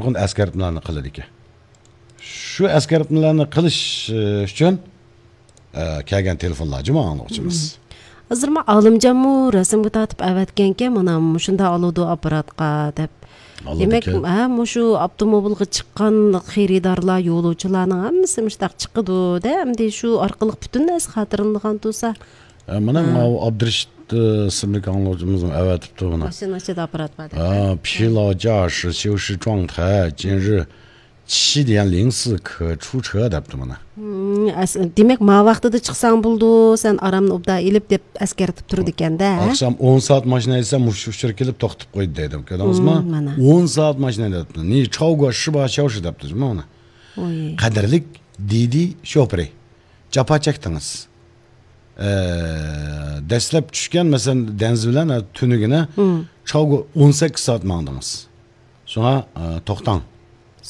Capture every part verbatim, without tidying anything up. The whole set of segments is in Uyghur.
نۇرغۇن ئەسكەرتمىلەرنى قىلىدىكەن. شۇ ئەسكەرتمىلەرنى قىلىش، ئى، ئۈچۈن، ئى، كەلگەن تېلېفونلار جۇمۇ ئاڭلىغۇچىمىز. ھازىرمۇ ئالىمجانمۇ رەسىمگە تارتىپ ئەۋەتكەنكەن، مانا مۇشۇنداق ئالىدۇ ئاپپاراتقا دەپ. دېمەك، ئالىدىكەن. ھە، مۇشۇ ئاپتوموبىلغا چىققان خېرىدارلار، يولۇچىلارنىڭ ھەممىسى مۇشۇنداق چىقىدۇ دە، ئەمدى شۇ ئارقىلىق پۈتۈن نەرسە خاتىرىلىنىدىغان تۇرسا. ئە، مانا ھە. ماۋۇ ئابدۇرېشىت، ئى، ئىسىملىك ئاڭلىغۇچىمىزمۇ ئەۋەتىپتۇ بۇنى. ماشىنا ئىچىدە ئاپپارات بار دەپ. ھە، 疲劳驾驶休息状态，今日 七点零四可出车 دەپتۇ مانا. ھىم، ئەس-، دېمەك، ما ۋاقتىدا چىقساڭ بولىدۇ، سەن ئارامنى ئوبدان ئېلىپ دەپ ئەسكەرتىپ تۇرىدىكەن-دە، ھە؟ ئاخشام ئون سائەت ماشىنا ھەيدىسەم، مۇشۇ ئۇچۇر كېلىپ توختىتىپ قويدى دەيدۇ. كۆردىڭىزمۇ؟ ھىم، مانا. ئون سائەت ماشىنا ھەيدەپتۇ. 你超过十八小时 دەپتۇ مانا. ئوي. قەدىرلىك دىدى شوپۇرى. جاپا چەكتىڭىز. ئە، دەسلەپ چۈشكەن، مەسىلەن، دەنزى بىلەن، ئە، تۈنۈگۈنە ھىم. چاۋگۇ ئون سەككىز سائەت ماڭدىڭىز. شۇڭا، ئە، توختاڭ.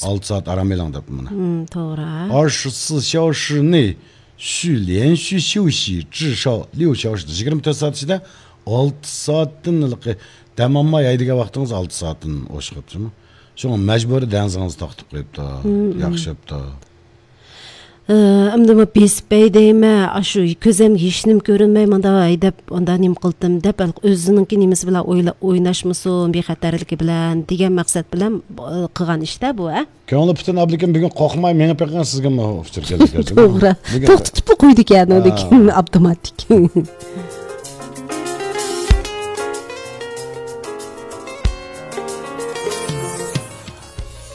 ئالتە سائەت ئارام ئېلىڭ دەپ مانا. ھىم، توغرا. 二十四小时内需连续休息至少六小时. يىگىرمە تۆت سائەت ئىچىدە ئالتە سائەتتىن ھېلىقى دەم ئالماي ھەيدىگەن ۋاقتىڭىز ئالتە سائەتتىن ئوشۇقۇپتۇ. شۇڭا مەجبۇرىي دەنزىڭىزنى توختىتىپ قويۇپتۇ. ھىم، ھىم. ياخشى بوپتۇ. ئە، ئەمدى ما بېسىپ بەي دەيمەن، ئاشۇ كۆزەمگە ھېچنېمە كۆرۈنمەي، مانداق ھەيدەپ، ئاندا نېمە قىلدىم دەپ، ئۆزىنىڭكى نېمىسى بىلەن ئويلا-، ئويناشمىسۇن، بىخەتەرلىكى بىلەن دېگەن مەقسەت بىلەن، ئە، قىلغان ئىش-تە بۇ، ھە؟ كۆڭلى پۈتۈن ئابلىكىم بۈگۈن قورقماي مېڭىپ بېقىڭ، سىزگىمۇ ئۇچۇر كېلىدۇ. توغرا. بۈگۈن توختىتىپلا قويدىكەن، ھە. ئۇنىڭدىن كېيىن ئاپتوماتىك.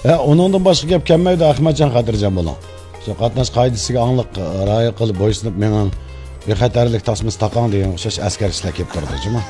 ھە، ئۇنىڭدىن باشقا گەپ كەلمەيدۇ، ئەخمەتجان خاتىرجەم بولۇڭ. شۇ قاتناش قائىدىسىگە ئاڭلىق رىئايە قىلىپ، بويسۇنۇپ مېڭىڭ، بىخەتەرلىك تاسمىسى تاقاڭ دېگەن ئوخشاش ئەسكەرتىشلەر كېلىپ تۇرىدۇ، جۇمۇ.